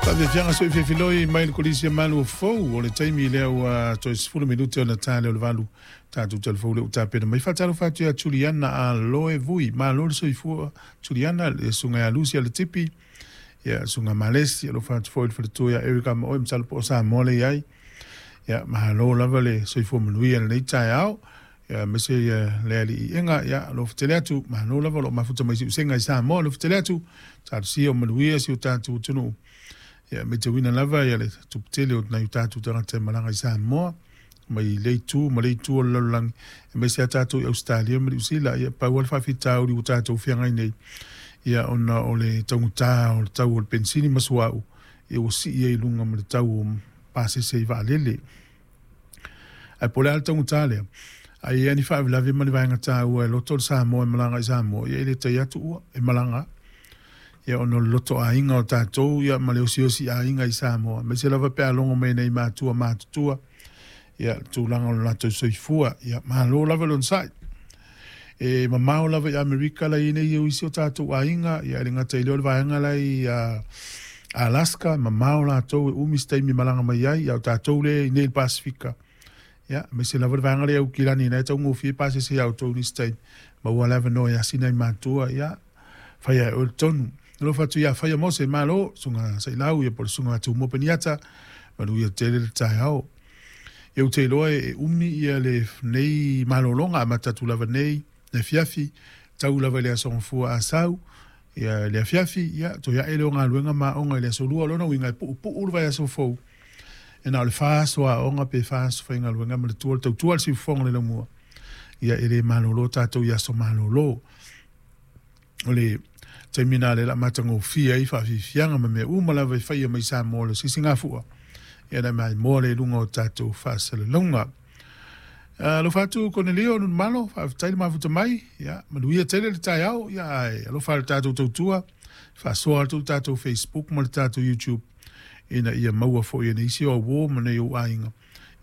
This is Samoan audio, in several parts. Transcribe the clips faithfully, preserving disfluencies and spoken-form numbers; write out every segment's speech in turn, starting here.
Faafiafiaga soifiafiloi mai le Kolisi e Malu Fou o le taimi lea ua toe sefulu minute ona ta lea o le valu tatou telefou lea ua tapena mai. Faatalofa atu ia Juliana Aloe Vui, malo le soifua Juliana, le susuga ia Lucy Aletipi, ia susuga Malesi, alofa atu foi le faletua ia Erica ma oe, masalo po o Samoa le i ai. Ia malo lava le soifua manuia i lenei taeao. Ia aemaise ia le aliiega, ia alofa tele atu, malo lava o lo o mafuta mai siusega i Samoa, alofa tele atu, talosia o manuia si o tatou atunuu. Ia matauina lava ia le tuputele o nai o tatou tagata e malaga i Samoa mai le itu ma le itu o le lalolagi, aemaise a tatou i Ausetalia ma Niu Sila. Ia pau lava le faafitauli ua tatou feagai nei, ia ona o le taugata o le tau o le penisini ma suauu, ia ua sii ai i luga ma le tau o pasese i vaalele. Ae po o le a le taugata lea, a i ai ni faalavelave ma ni vaega taua e loto le Samoa e malaga i Samoa, ia e le tai atu ua e malaga. Ia ona o le lotoaiga o tatou ia ma le osiosi aiga i Samoa, aemaise lava pe a logo mai nei matua matutua, ia le tulaga o le latou soifua, ia malo lava le onosai. E mamao lava i Amerika la i nei o isi o tatou aiga, ia e le gata i lea o le vaega la i uh, Alaska, mamao latou e umi se taimi malaga mai ai, ia o tatou le i nei i le Pasifika. Ia, aemaise lava le vaega lea Aukilani, na e taugofie pasese ia outou nisi taimi, maua le avanoa e asi nai matua, ia, fai ai oe le tonu. Alofa atu ia Faia Mose, malo, susuga Sailau, ia po o le susuga Tumua Peniata, manuia tele le taeao. Ia ou te iloa e umi ia le nei malologa amata atu lava nei, le afiafi, tau lava i le aso Gafua Asau, ia le afiafi, ia toe ae lea o galuega ma aoga i le aso Lua. O lona uiga e puupuu le vaiaso fou, e na o le fa aso aoga pe fa aso faigaluega ma le tua, le tautua le siufofoga le laumua. Ia e le malolo tatou i aso malolo. O le taimi nā le la matagofie ai faafiafiaga ma mea uma lava e faia mai Samoa le sisigafua. Ia na mai moa le luga o tatou faasalalauga. Alofa atu Konelio Nunumalo, faafetai le mafuta mai, ia manuia tele le taeao, ia ae alofa le tatou tautua, faasoa atu le tatou Facebook ma le tatou YouTube, ina ia maua foi e nisi o auō ma nei ou aiga,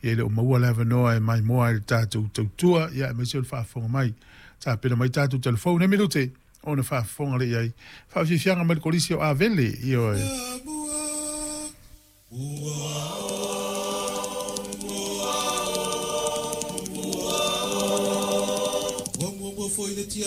ia e le o maua le avanoa e maimoa ai le tatou tautua, ia aemaise o le faafofoga mai. Tapena mai tatou telefoni nei minute, ona faafofoga le i ai. Faafiafiaga mai le Kolisi o Avele, ioe.